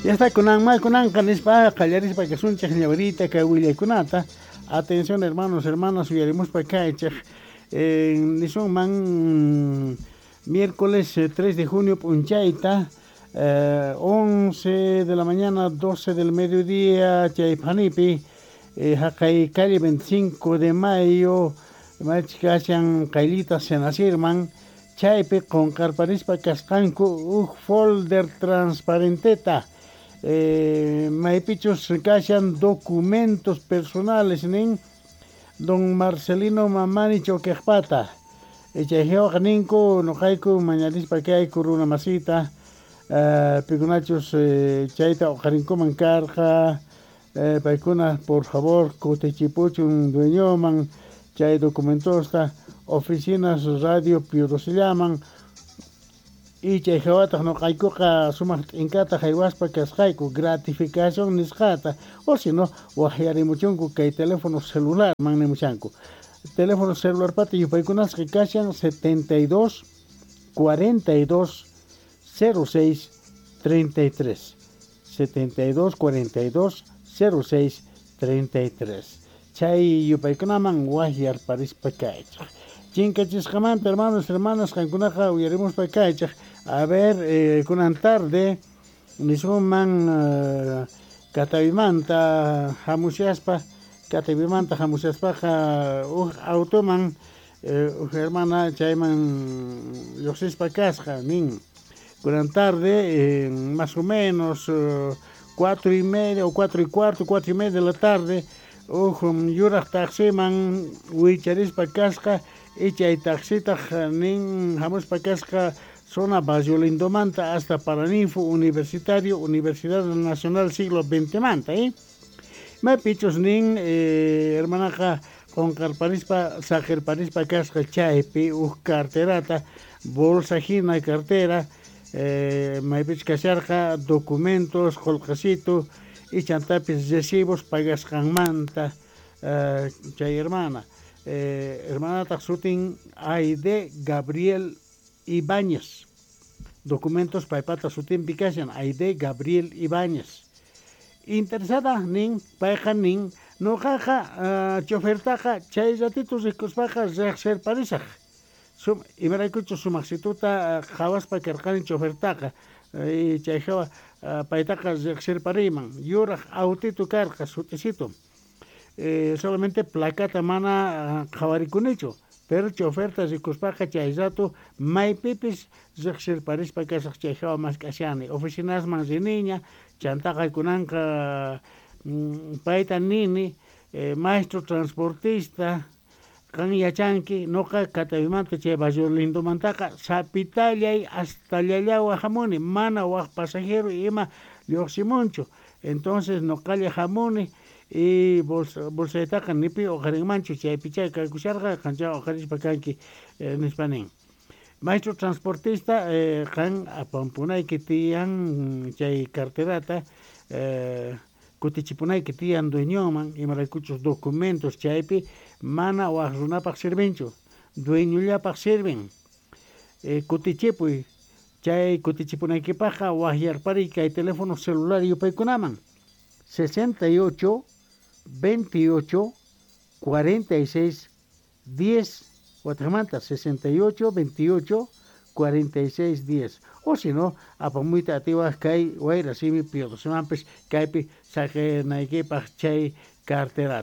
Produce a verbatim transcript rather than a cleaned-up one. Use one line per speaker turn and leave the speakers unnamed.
Ya está kunanma kunanqa nispa qallarispa kasunchik ñawirita kay willaykunata. Atención, hermanos, hermanas, uyarimuspa kaychik. Eh, nisunman miércoles tres de junio p'unchayta, eh, once de la mañana, doce del mediodía, chay phanipi, eh, haqay calle veinticinco de Mayo, maychus kashan qayllita Senacirman, chaypi qunqarparispa kasqanku huk folder transparenteta, eh, maypichus kashan documentos personales nin don Marcelino Mamani Choquejpata. Chay hawaqa ninku nuqayku mañarispa kayku runa masita, uh, pikunachus eh, chayta uqarinkuman karqa, eh, paykuna por favor kutichipuchun dueñoman chay documentosta oficinas radio Pío se llaman y chay hawataq nuqaykuqa sumaq t'inkata haywaspa kasqayku gratificación nisqata, o si no waqyarimuchunku kay teléfono celular man nimuchanku. Teléfono celular pata yupaykunasqa kashan setenta y dos cuarenta y dos cero seis treinta y tres, setenta y dos cuarenta y dos cero seis treinta y tres. Chay yupaykunaman waqyarparispa kaychik. Chinkachisqamanta, hermanos, hermanas, qankunaqa uyarimuspa kaychik. A ver, eh, kunan tarde nisunman uh, Katawimanta hamushaspa, Katawimanta hamushaspaqa huk automan eh, huk hermana chayman lluqsispa kasqa nin. Kunan tarde, eh, más o menos uh, cuatro y media o cuatro y cuarto, cuatro y media de la tarde, huk yuraq taximan wicharispa kasqa y chay taxitaq nin hamuspa kasqa zona Barrio Lindomanta hasta Paraninfo Universitario, Universidad Nacional Siglo veinte manta, eh? Maypichus nin eh, hermanaqa qunqarparispa saqirparispa kasqa chaypi huk carterata, bolsa hina cartera, eh, maypichus kasharqa documentos, qullqisitu y chantapis recibos pagasqanmanta eh, chay hermana. Eh, hermanataq sutin Aide Gabriel Ibáñez. Documentos paypata sutinpi kashan Aide Gabriel Ibáñez. Interesada nin, payqa nin, nuqaqa uh, chofertaqa chay ratito rikuspaqa riqsirparisaq. Sum, imaraykuchus sumaqsituta qhawaspa karqani chofertaqa y chay hawa uh, paytaqa riqsirpariyman. Yuraq autito karqa, sut'isitu. Eh, solamente placata mana qhawarikunichu, pero choferta rikuspaqa chay rato maypipis riqsirparispa kasaq. Chay hawa mask'ashani oficinasman riniña chantaqa kunanqa mm, payta nini, eh, maestro transportista, qan yachanki nuqa Katawimanta chay Barrio Lindomantaqa sapitallay hasta Llallawa hamuni, mana wak pasajero ima lluqsimunchu, entonces nuqalla hamuni y bolsa bolsaytaqa nipi uqarinmanchu, chaypichá kaykusharqa, qanchá uqarispa kanki, eh, nispa nin. Maestro transportista, eh, qan apampunayki tiyan chay carterata, eh, kutichipunayki tiyan dueñoman, imaraykuchus documentos chaypi mana wak runapaq sirvinchu, dueñollapaq sirven. Eh, kutichipuy, chay kutichipunaykipaqqa waqyarpariy kay teléfono celular yupaykunaman: sesenta y ocho veintiocho cuarenta y seis diez, wataqmanta sesenta y ocho veintiocho cuarenta y seis diez, o si no apamuyta atiwaq kay Wayra Simi Pío Docemanpis kaypi saqinaykipaq chay carterata.